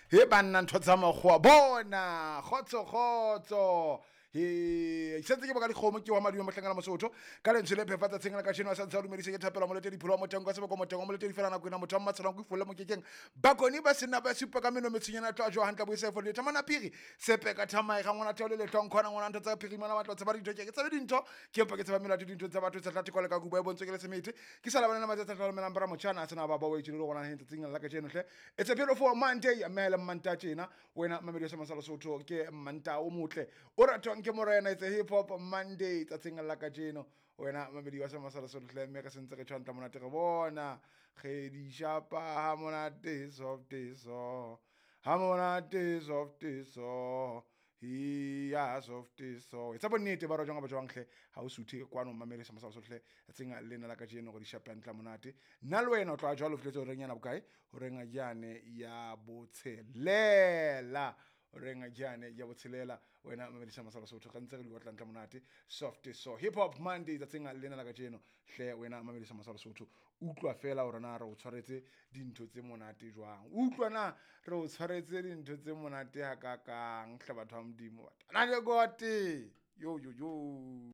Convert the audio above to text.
He banna, ntho tsa makgowa bona, kgotso kgotso. He sentse ke boka dikgomo, ke wa madume mohlangana Mosotho ka lentswe le phefa tsatsing la kajeno. A santse a dumedise ke thapelo moletedi pholo wa moteng ka seboko moteng wa moletedi fela nako ena motho wa mmatshelang ko ifolle mokekeng bakoni ba sena ba supa ka meno metshwenyana tlo a jowa hantle boisa fo le thamana phiri sepe ka thamae ga ngwana theo le letlong khona ngwana ntho tsa phiri ngwana batlo tseba dintho ke tsebe dintho ke mpa ke tseba melato dintho tsa batho tsa tla theko le ka kuba e bontswe ke le semete ke sa labana le matsatsi a tla lomelang bara motjhana a sena ba ba wa itse le gona he tsatsing la kajeno hle. It's a beautiful Monday, mme le Manta tjena wena mamedi sa Masala Sotho, ke Manta o motle o ratwang ke morena. It's a hip hop Monday tsatsing la kajeno wena mamedi wa sa Masala Sotho hle, mme re sentse re tshwantla monate re bona ge di shapa ha monate soft so ha monate soft so ya soft so. Etsa bonnete ba rojang ba jwang hle, ha o suthe kwano mamedi sa Masala Sotho hle, tsatsing lena la kajeno gore di shape hantle monate. Nna le wena o tloha jwalo o fihletse horeng yana bokae? Horeng yane ya botshelela, horeng yane ya botshelela wena mamedi sa Masala Sotho, re ntse re di otla ntle monate soft so hip hop Monday tsatsing lena la kajeno hle. Wena mamedi sa Masala Sotho, utlwa fela hore na re o tshwaretse dintho tse monate jwang, utlwa na re o tshwaretse dintho tse monate hakakang hle, batho ba Modimo na le gote yo yo yo.